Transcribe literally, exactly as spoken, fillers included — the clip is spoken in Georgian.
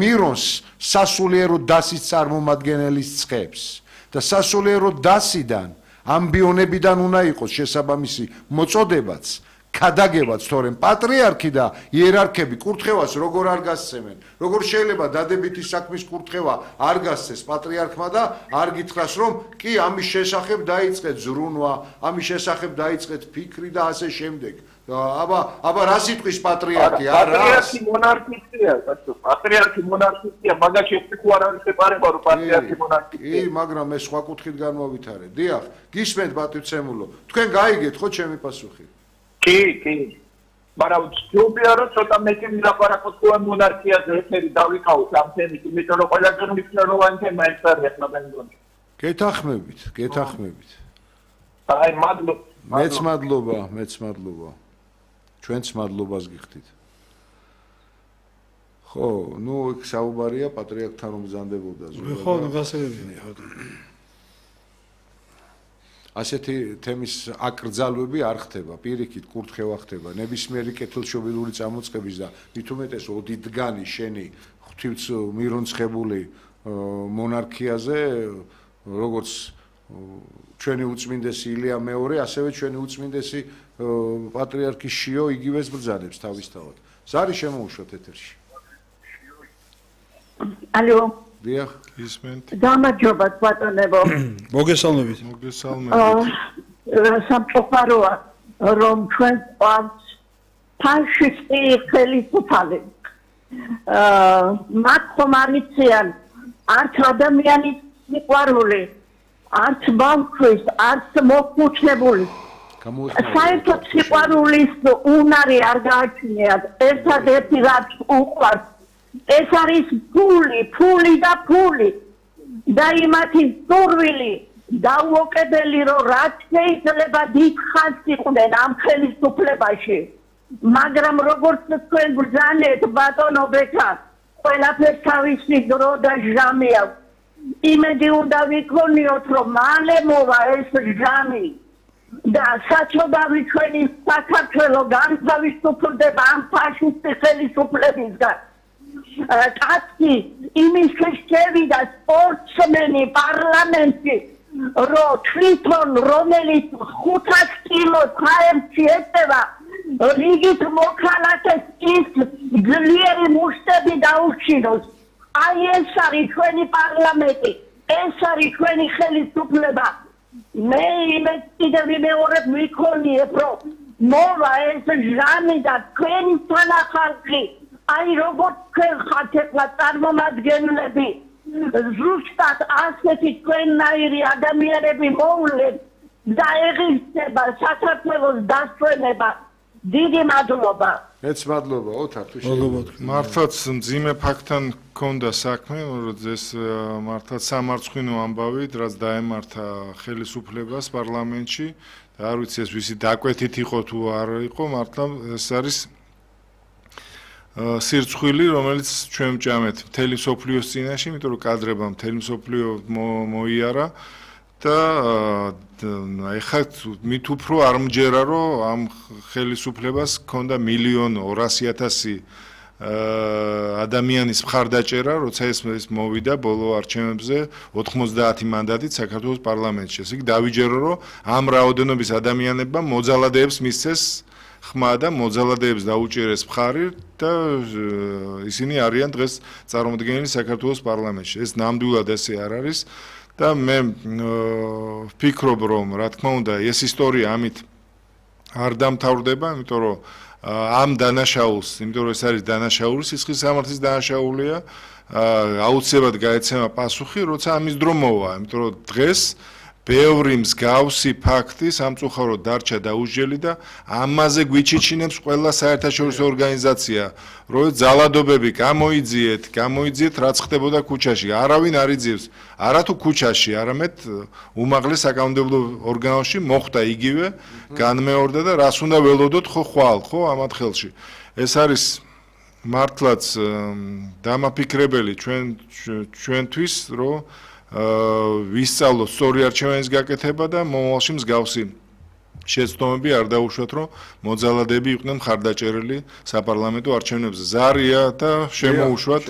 მირონს სასულიერო დასის წარმომადგენელის ცხებს და სასულიერო დასიდან ამბიონებიდან უნდა იყოს შესაბამისი მოწოდებაც ქადაგებაც თორემ პატრიარქი და იერარქები კურთხევას როგორ არ გასცემენ როგორ შეიძლება დადებითი საქმის კურთხევა არ გასცეს პატრიარქმა და არ გითხრას რომ კი ამის შესახებ დაიწყეთ ზრუნვა ამის შესახებ დაიწყეთ ფიქრი და ასე შემდეგ აბა აბა რა სიტყვის პატრიარქი არა პატრიარქი მონარქისტია პატრიარქი მონარქისტია მაგაში თუ არ არის შეპარება რომ პატრიარქი მონარქისტია კი მაგრამ ეს სხვა კუთხით განმოვითარეთ დიახ გისმენთ პატივცემულო თქვენ გაიგეთ ხო ჩემი პასუხი კი კი მაგრამ ჯობია რომ ცოტა მეტი ვილაპარაკოთ ხო მონარქიაზე ეთერი დავიკავოთ ამ თემით იმიტომ რომ ყველაზე მნიშვნელოვანი თემა ეს არის ახლა მე მგონი გეთახმებით გეთახმებით აი მადლობა მეც მადლობა მეც მადლობა ჩვენც მადლობას გიხდით ხო ნუ იქ საუბარია პატრიარქთან რომ ბრძანდებოდა ზოგადად ხო ნუ გასაგებია ასეთი თემის აკრძალვები არ ხდება პირიქით კურთხევა ხდება ნებისმიერი კეთილშობილური წამოწყების და მით უმეტეს ოდითგანი შენი ღვთივთ მირონცხებული მონარქიაზე როგორც ჩვენი უწმინდესი ილია მეორე ასევე ჩვენი უწმინდესი პატრიარქი შიო იგივეს ბრძანებს თავისთავად ზარი შემოუშვათ ეთერში ალო დიახ ისმენთ გამარჯობა ბატონებო მოგესალმებით მოგესალმებით სამწუხაროა რომ ჩვენ ყავს ფაშისტი ხელისუფალი მათ ხომ არიციან არც ადამიანის სიყვარული არც ბავშვის არც მოხუცებული საერთოდ სიყვარულის უნარი არ გააჩნიათ ერთადერთი რაც უყვარს ეს არის ფული, ფული და ფული და იმათი სურვილი დაუოკებელი რომ რაც შეიძლება დიდ ხანს იყვნენ ამ ხელისუფლებაში მაგრამ როგორც თქვენ ბრძანეთ ბატონო ბექა ყველაფერს თავისი დრო და ჟამი აქვს იმედი უნდა ვიქონიოთ რომ მალე მოვა ეს ჟამი და საჩოდავი ჩვენი საქართველო განთავისუფლდება ამ ფაშისტი ხელისუფლებისგან კაცი იმისთვის შევიდა სპორტსმენი პარლამენტში რომ თვითონ რომელიც ხუთას კილოს ჰაერში ეწევა რიგით მოქალაქეს ის ძლიერი მუშტები დაუჩინოს აი ეს არის ჩვენი პარლამენტი ეს არის ჩვენი ხელისუფლება მე იმედ კიდევ ვიმეორებ ვიქონიებ რომ მოვა ეს ჟამი და თქვენი თანახმი აი როგორც თქვენ ხართ ეხლა წარმომადგენლები ზუსტად ასეთი თქვენნაირი ადამიანები მოვლენ და ეღირსება საქართველოს დასვენება დიდი მადლობა მეც მადლობა ოთარ თუ შეიძლება მართლაც მძიმე ფაქტთან გქონდა საქმე რომ ეს მართლაც სამარცხვინო ამბავით რაც დაემართა ხელისუფლებას პარლამენტში და არ ვიცი ეს ვისი დაკვეთით იყო თუ არ იყო მართლა ეს არის სირცხვილი რომელიც ჩვენ ვჭამეთ მთელი სოფლიოს წინაშე იმიტომ რომ კადრებმა მთელი სოფლიო მოიარა და ეხლა მით უფრო არ მჯერა რომ ამ ხელისუფლებას ჰქონდა მილიონი ორასი ათასი ადამიანის მხარდაჭერა როცა ეს მოვიდა ბოლო არჩევნებზე ოთხმოცდაათი მანდატით საქართველოს პარლამენტში ესე იგი დავიჯერო რომ ამ რაოდენობის ადამიანებმა მოძალადეებს მისცეს ხმა და მოძალადეებს დაუჭერეს მხარი და ისინი არიან დღეს წარმოდგენილი საქართველოს პარლამენტში ეს ნამდვილად ესე არ არის და მე ვფიქრობ რომ რა თქმა უნდა ეს ისტორია ამით არ დამთავრდება იმიტომ რომ ამ დანაშაულს იმიტომ რომ ეს არის დანაშაული სისხლის სამართლის დანაშაულია აუცილებლად გაეცემა პასუხი როცა ამის დრო მოვა იმიტომ რომ დღეს ბევრი მსგავსი ფაქტი სამწუხაროდ დარჩა დაუსჯელი და ამაზე გვიჩიჩინებს ყველა საერთაშორისო ორგანიზაცია რომ ძალადობები გამოიძიეთ გამოიძიეთ რაც ხდებოდა ქუჩაში არავინ არ იძიებს არა თუ ქუჩაში არამედ უმაღლეს საკანონმდებლო ორგანოში მოხდა იგივე განმეორდა და რას უნდა ველოდოთ ხო ხვალ ხო ამათ ხელში ეს არის მართლაც დამაფიქრებელი ჩვენ ჩვენთვის რომ ვისწავლოთ სწორი არჩევანის გაკეთება და მომავალში მსგავსი შეცდომები არ დაუშვათ რომ მოძალადეები იყვნენ მხარდაჭერილი საპარლამენტო არჩევნებზე ზარია და შემოუშვათ